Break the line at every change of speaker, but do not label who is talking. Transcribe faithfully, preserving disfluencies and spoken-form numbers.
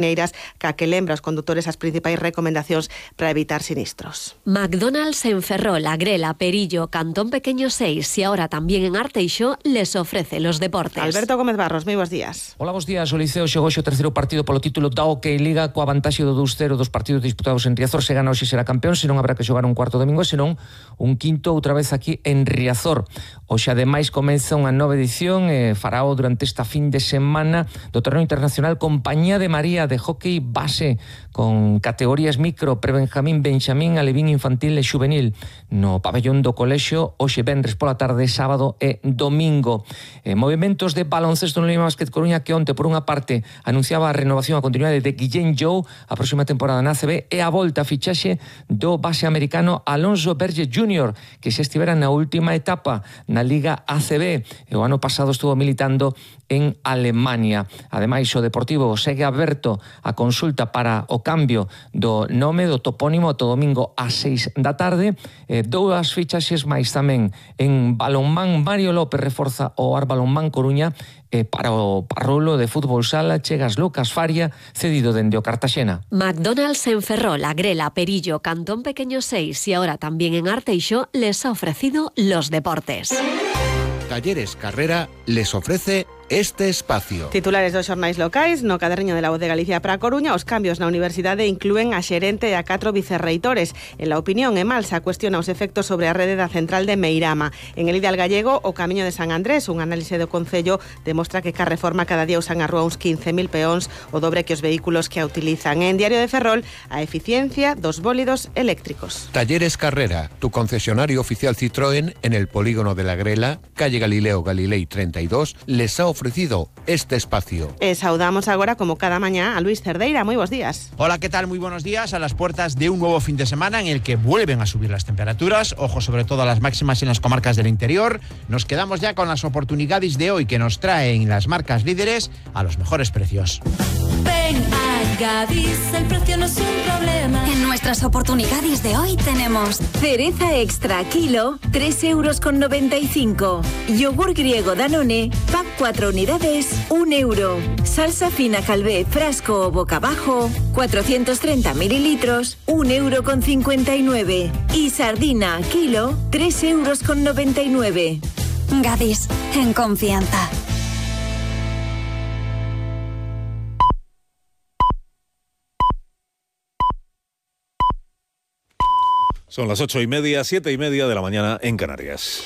Neiras ca que lembra aos condutores as principais recomendacións para evitar sinistros.
McDonald's en Ferrol, Agrela, Perillo, Cantón Pequeño seis y ahora también en Arteixo les ofrece los deportes.
Alberto Gómez Barros, moi bons días.
Hola, bons días. O Liceo xogou o terceiro partido polo título da Hockey Liga coa vantaxe do dous cero dos partidos disputados en Riazor. Se gana hoxe será campeón, senón habrá que xogar un cuarto domingo, senón un quinto outra vez aquí en Riazor. Hoxe ademais comeza unha nova edición e farao durante esta fin de semana do torneo internacional Compañía de María de hockey base con categorías micro, prebenjamín, benxamín, alevín, infantil e xuvenil no pabellón do colexio hoxe venres pola tarde, sábado e domingo. Eh, movimentos de baloncesto no Lima Basket Coruña que onte por unha parte anunciaba a renovación a continuidade de Guillén Jou a próxima temporada na A C B e a volta a fichaxe do base americano Alonso Berge júnior que se estivera na última etapa na Liga A C B e o ano pasado estuvo militando en Alemania. Ademais, o Deportivo segue aberto a consulta para o cambio do nome do topónimo to domingo ás seis da tarde. Eh, dúas fichaxes máis tamén en balonmán. Mario López reforza o Ar Balonmán Coruña e para o Parrulo de fútbol sala chegas Lucas Faria, cedido dende o Cartaxena.
McDonald's en Ferrol, Agrela, Perillo, Cantón Pequeño seis y ahora también en Arteixo les ha ofrecido los deportes.
Talleres Carrera les ofrece este espacio.
Titulares dos xornais locais no caderniño de la Voz de Galicia para a Coruña. Os cambios na universidade inclúen a xerente e a catro vicerreitores. En la opinión e Malsa cuestiona os efectos sobre a rede da central de Meirama. En el Ideal Gallego, o Camiño de San Andrés, un análise do Concello demostra que ca reforma cada día usan a rúa uns quince mil peóns, o dobre que os vehículos que a utilizan. En Diario de Ferrol, a eficiencia dos bólidos eléctricos.
Talleres Carrera, tu concesionario oficial Citroën en el polígono de la Grela, calle Galileo Galilei treinta y dos, les ha ofrecido este espacio.
E saudamos agora, como cada mañá, a Luis Cerdeira. Moi bons días.
Hola, ¿qué tal? Muy buenos días. A las puertas de un nuevo fin de semana en el que vuelven a subir las temperaturas. Ojo sobre todo a las máximas en las comarcas del interior. Nos quedamos ya con las oportunidades de hoy que nos traen las marcas líderes a los mejores precios.
Ven a Gadis, el precio no es un problema. En nuestras oportunidades de hoy tenemos cereza extra kilo, tres euros con noventa y cinco. Yogur griego Danone, pack cuatro unidades, un euro. Salsa fina Calvé, frasco o boca abajo, cuatrocientos treinta mililitros, un euro con cincuenta y nueve. Y sardina kilo, tres euros con noventa y nueve. Gadis, en confianza.
Son las ocho y media, siete y media de la mañana en Canarias.